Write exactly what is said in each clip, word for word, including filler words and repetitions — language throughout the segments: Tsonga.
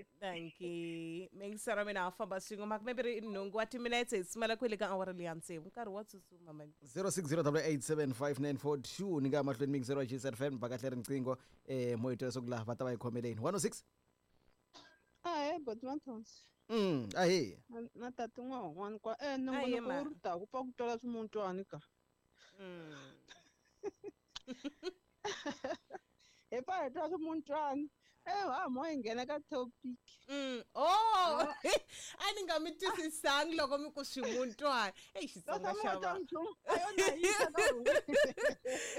sesi. Dankie. Mingisera mina a famba swin'we makume mbirhi nhungu wa timinetse hi simela kwele ka awara leya tsevu nkarhi wa tsutsuma mani. zero six zero double eight seven five nine four two ni nga mahlweni mingisero wa G S F M va kahle riqingho eh mo hi twa leswaku laha va ta va hi khomeleni one oh six. Ahee boti Mathonsi. Mm ahee. Na tati n'wana kwa eh nongonoko wu ri ta ku pfa ku twala swimuntwani ka. Mm. Hi pfa hi twa swimuntwani. Eh ha mo hi nghena ka topic. Mm. Oh, a ni nga mi twisisangi loko mi ku swimuntwani. Ey Xitsonga xa va.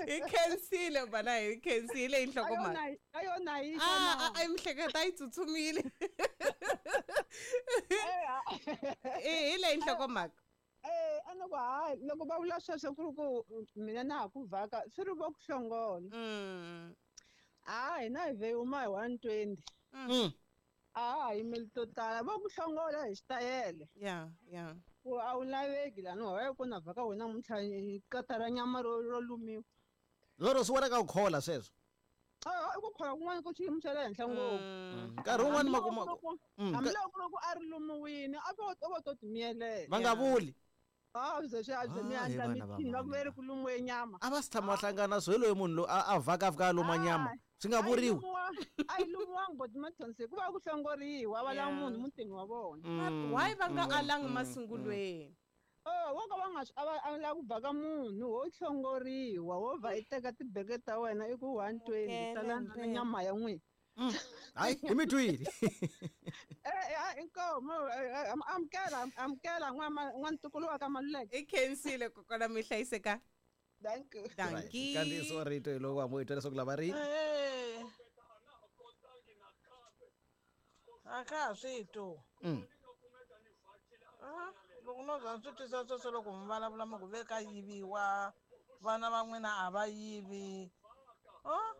Hi khensile bana hi khensile hi nhlokomhaka. Ayona yi Ah, a mihleketa yi tsutsumile. Eh hi leyi nhlokomhaka. Eh a ni ku hayi loko va vula sweswo ku ri ku mina na ha ku vhaka swi ri vo ku hlongola. Mm. Ah, hina hi ve huma hi one twenty. Mm. Ah, hi yimeli to tala vo ku hlongola hi xitayele. Yeah, yeah. Ku a wu laveki lani wa ku na vhaka wena namuntlha kata ra nyama ro ro lumiwa. Loro swi wena ka ku khola sweswo. Ah, i ku khola kun'wana ku xiyimo xa le henhla ngopfu. Nkarhi wun'wani ma kuma hambiloko loko a ri lumiwini a vo vo to timiyelela. Va nga vuli. Ah, byi swi a byi mi andla mithini va ku veri ku lumiwe nyama. A va si tshama va hlangana swo hi loyi munhu loyi a vhaka a fika a luma nyama. Swi nga vuriwi. A yi lumiwangi boti Mathonsi ku va ku hlongoriwa va lava munhu mutini wa vona. Why va nga alangi masungulweni? Oh, wo ka va nga a va a lava ku vhaka munhu wo hlongoriwa wo va i teka tibeke ta wena i ku one twenty tala na nyama ya n'wina. Hayi hi mi twile. Eh inkomo amukela amukela n'wantukulu wa ka Maluleke. I khensile kokwana mi hlayiseka. Thank you. Dankie. Kandziyiso wa rito hi loko wa mo hi twa leswaku lava ri. Eh. A ka ha swi twi. Mm. Ah, loko no za swi twisa sweswo loko mi vulavula mi ku ve ka yiviwa vana va n'wina a va yivi. Oh,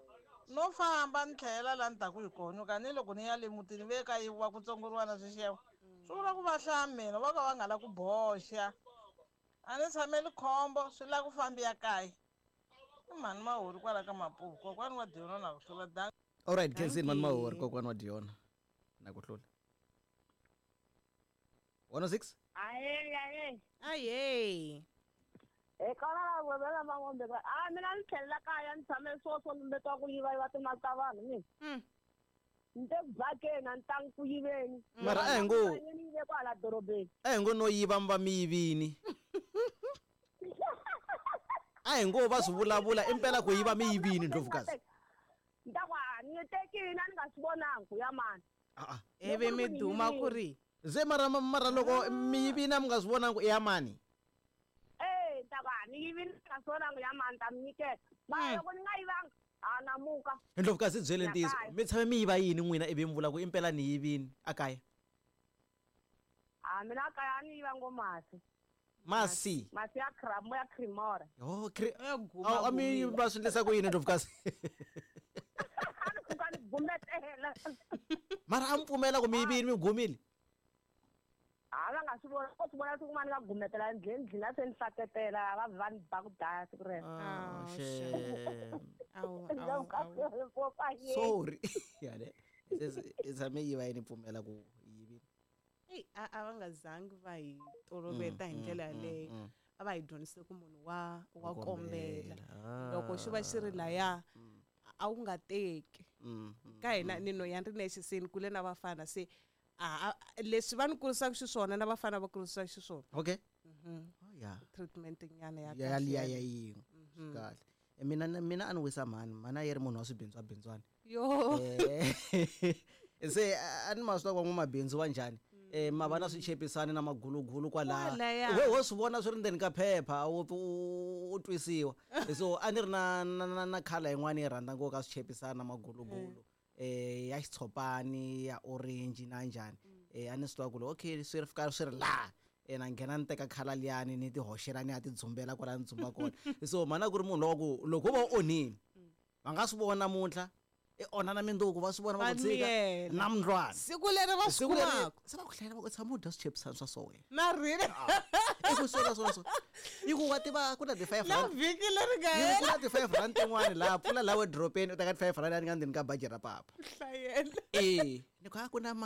no famba ni tlhela laha ni taku hi kona ka ni loko ni ya le mutini ve ka yiviwa ku tsongoriwa na swixevo swi vula ku va hlaya mina va ka va nga la ku boxa a ni tshameli khombo swi lava ku fambiya kaya i mhani Mahori kwala ka Mapuku kokwani wa Diona na ku hlula dan. All right, khensini mhani Mahori kokwani wa Diona na ku hlula. one oh six. Ahee ahee. Ahee. Hi kona la vela mangombe ka a mina ni tlhelela kaya ni tshame swoswo lumbetiwa ku yiva yiva timali ta vanhu mina. Mm. Ni te ku vhakeni a ni tangi ku yiveni. Mara a hi ngo ni yive kwala dorobeni. A hi ngo no yiva mi va mi yivini. A hi ngo va swi vulavula impela ku yiva mi yivini Ndlovukazi. Ni ta ku a ni tekini a ni nga swi vonangi ku ya mani. A a. Ivi mi duma ku ri. Ze mara mara loko mi yivini a mi nga swi vonangi i ya mani. Eh ta ku a ni yivini ni nga swi vonangi ya mani ta mi nyiketa. Mara loko ni nga yivanga a namuka. Ndlovukazi byele ntiyiso mi tshame mi yiva yini n'wina ivi mi vula ku impela ni yivini a kaya? A mina kaya a ni yiva ngo masi. Masi. Masi ya cream ya cremora. Oh, cre a mi va swi endlisa ku yini Ndlovukazi? A ni pfuka ni gumetela. Mara a mi pfumela ku mi yivini mi gumile? A va nga swi vona ko swi vona siku rin'wana ni nga gumetela endleni ndlhina se ni hlaketela va va ni ba ku daya siku rero. Ah, shame. Awu awu awu. Sorry. Yale. Se tshame yiva yini pfumela ku yivini? Ey a a va nga zangi va hi toloveta hi ndlela yaleyo. A va hi dyondzise ku munhu wa wa kombela. Loko xi va xi ri laya a wu nga teki. Ka hina ni no ya ni ri nexe se ni kule na vafana se a leswi va ni kurisaka xiswona na vafana va kurisaka xiswona. Okay. Mhm. Oh yeah. Treatment nyana ya ya liya ya yin'we. Kahle. Mina mina a ni wisa mhani mhani a yi ri munhu wa swibindzwa bindzwana. Yo. Se a ni ma swi tiva ku van'wamabindzu va njhani. Eh ma va na swichepisani na magulugulu kwalaha. We ho swi vona swi ri ndzeni ka phepha u u twisiwa. So a ni ri na na na khala yin'wana yi rhandza ngopfu ka swichepisani na magulugulu. Eh ya xitshopani ya orange na njhani. Eh a ni swi tiva ku okay swi ri fika swi ri laha. Eh na nghena ni teka khala liyani ni ti hoxela ni ya ti dzumbela kwala ni dzumba kona. So mhana ku ri munhu wa ku loko va u onhini va nga swi vona namuntlha i onha na minduku va swi vona va ku tshika na mundlwana siku leri va swi kumaka se va ku hlayela va ku tshama u dya swichepisani swa so wena na rini i ku swona swona swona i ku wa tiva ku na ti-five na rand vhiki leri nga ku hela na ti-five rand tin'wani laha pfula laha wedropeni u teka ti-five rand ya ni nga ndzeni ka baji ra papa hlayela e ni ku a ku na mali.